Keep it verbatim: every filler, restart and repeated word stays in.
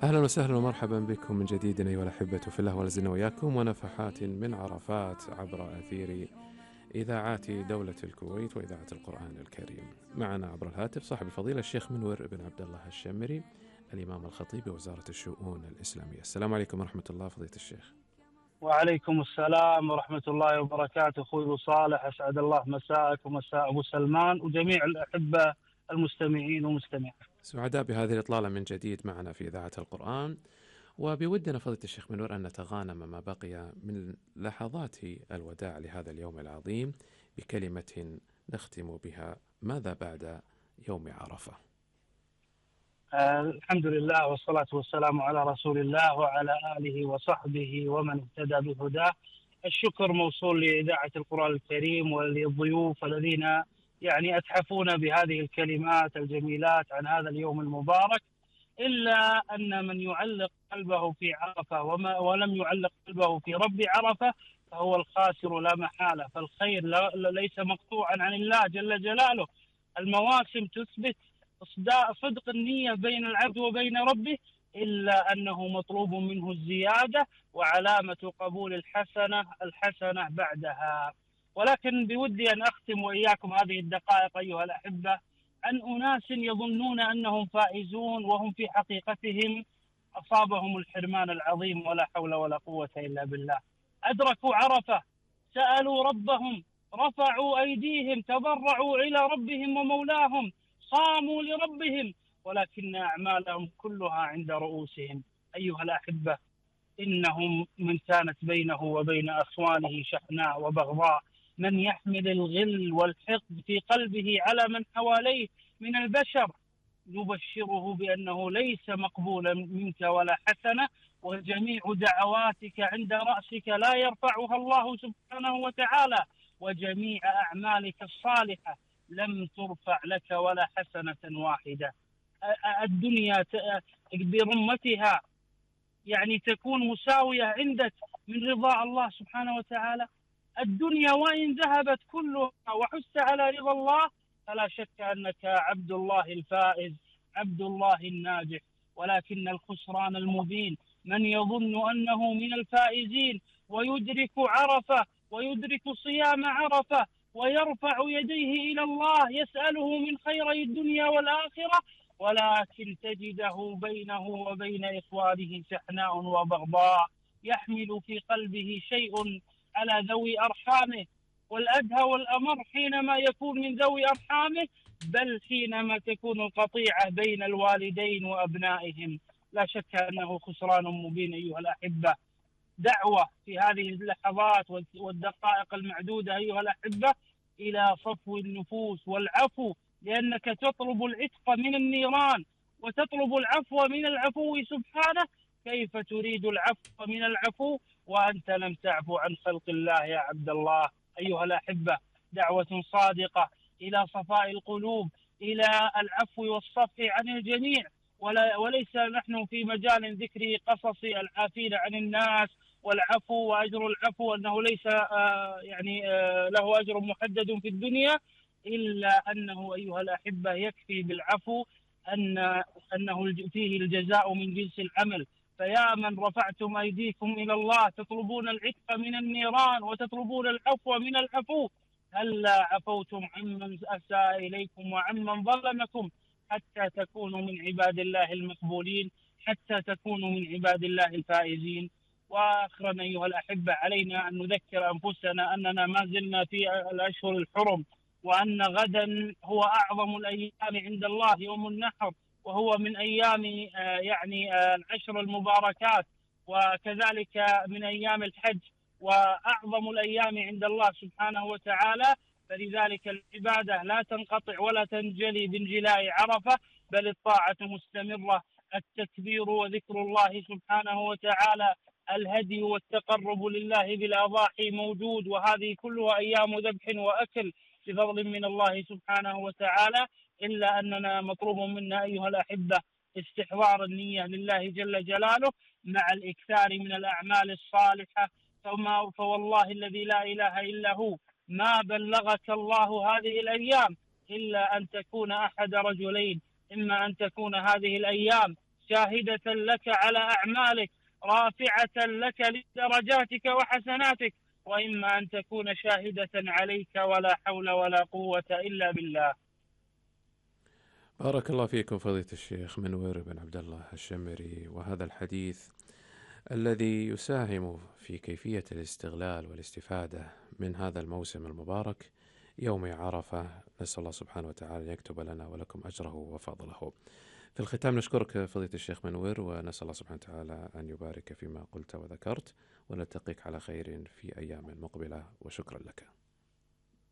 أهلا وسهلا ومرحبا بكم من جديد أيها الأحبة في الله، ولازلنا وياكم ونفحات من عرفات عبر أثير إذاعات دولة الكويت وإذاعة القرآن الكريم. معنا عبر الهاتف صاحب الفضيلة الشيخ منور بن عبد الله الشمري، الإمام الخطيب بوزارة الشؤون الإسلامية. السلام عليكم ورحمة الله فضيلة الشيخ. وعليكم السلام ورحمة الله وبركاته. أخوي أبو صالح، أسعد الله مساءك ومساء أبو سلمان وجميع الأحبة المستمعين ومستمعات. سعداء بهذه الإطلالة من جديد معنا في إذاعة القرآن، وبودنا فضيلة الشيخ منور أن نتغانم ما بقي من لحظات الوداع لهذا اليوم العظيم بكلمة نختم بها: ماذا بعد يوم عرفة؟ آه الحمد لله والصلاة والسلام على رسول الله وعلى آله وصحبه ومن اهتدى بهداه. الشكر موصول لإذاعة القرآن الكريم وللضيوف الذين يعني أتحفون بهذه الكلمات الجميلات عن هذا اليوم المبارك. إلا أن من يعلق قلبه في عرفة وما ولم يعلق قلبه في رب عرفة فهو الخاسر لا محالة. فالخير ليس مقطوعا عن الله جل جلاله. المواسم تثبت صدق النية بين العبد وبين ربه، إلا أنه مطلوب منه الزيادة، وعلامة قبول الحسنة الحسنة بعدها. ولكن بودي أن أختم وإياكم هذه الدقائق أيها الأحبة عن أناس يظنون أنهم فائزون وهم في حقيقتهم أصابهم الحرمان العظيم، ولا حول ولا قوة إلا بالله. أدركوا عرفة، سألوا ربهم، رفعوا أيديهم، تضرعوا إلى ربهم ومولاهم، صاموا لربهم، ولكن أعمالهم كلها عند رؤوسهم. أيها الأحبة، إنهم من كانت بينه وبين أخوانه شحناء وبغضاء، من يحمل الغل والحقد في قلبه على من حواليه من البشر، نبشره بأنه ليس مقبولا منك ولا حسنة، وجميع دعواتك عند رأسك لا يرفعها الله سبحانه وتعالى، وجميع أعمالك الصالحة لم ترفع لك ولا حسنة واحدة. الدنيا برمتها يعني تكون مساوية عندك من رضا الله سبحانه وتعالى. الدنيا وإن ذهبت كلها وحست على رضا الله فلا شك أنك عبد الله الفائز، عبد الله الناجح. ولكن الخسران المبين من يظن أنه من الفائزين ويدرك عرفة ويدرك صيام عرفة ويرفع يديه إلى الله يسأله من خيري الدنيا والآخرة، ولكن تجده بينه وبين إخوانه شحناء وبغضاء، يحمل في قلبه شيء على ذوي أرحامه. والأدهى والأمر حينما يكون من ذوي أرحامه، بل حينما تكون القطيعة بين الوالدين وأبنائهم. لا شك أنه خسران مبين أيها الأحبة. دعوة في هذه اللحظات والدقائق المعدودة أيها الأحبة إلى صفو النفوس والعفو، لأنك تطلب العتق من النيران وتطلب العفو من العفو سبحانه. كيف تريد العفو من العفو وأنت لم تعفو عن خلق الله يا عبد الله؟ أيها الأحبة، دعوة صادقة إلى صفاء القلوب، إلى العفو والصفح عن الجميع، وليس نحن في مجال ذكر قصص العافين عن الناس والعفو وأجر العفو أنه ليس آه يعني آه له أجر محدد في الدنيا، إلا أنه أيها الأحبة يكفي بالعفو أن أنه فيه الجزاء من جنس العمل. فيا من رفعتم أيديكم إلى الله تطلبون العتق من النيران وتطلبون العفو من العفو، هلا عفوتم عمن أساء إليكم وعمن ظلمكم حتى تكونوا من عباد الله المقبولين، حتى تكونوا من عباد الله الفائزين. وآخرا أيها الأحبة، علينا أن نذكر أنفسنا أننا ما زلنا في الأشهر الحرم، وأن غدا هو أعظم الأيام عند الله يوم النحر، وهو من أيام يعني العشر المباركات، وكذلك من أيام الحج، وأعظم الأيام عند الله سبحانه وتعالى. فلذلك العبادة لا تنقطع ولا تنجلي بانجلاء عرفة، بل الطاعة مستمرة، التكبير وذكر الله سبحانه وتعالى، الهدي والتقرب لله بالأضاحي موجود، وهذه كلها أيام ذبح وأكل بفضل من الله سبحانه وتعالى. إلا أننا مطلوب منا أيها الأحبة استحضار النية لله جل جلاله مع الإكثار من الأعمال الصالحة. فما فوالله الذي لا إله إلا هو ما بلغك الله هذه الأيام إلا أن تكون أحد رجلين: إما أن تكون هذه الأيام شاهدة لك على أعمالك، رافعة لك لدرجاتك وحسناتك، وإما أن تكون شاهدة عليك، ولا حول ولا قوة إلا بالله. بارك الله فيكم فضيلة الشيخ منور بن عبد الله الشمري، وهذا الحديث الذي يساهم في كيفية الاستغلال والاستفادة من هذا الموسم المبارك يوم عرفة. نسأل الله سبحانه وتعالى أن يكتب لنا ولكم أجره وفضله. في الختام نشكرك فضيلة الشيخ منور، ونسأل الله سبحانه وتعالى أن يبارك فيما قلت وذكرت، ونلتقيك على خير في أيام مقبلة، وشكرا لك.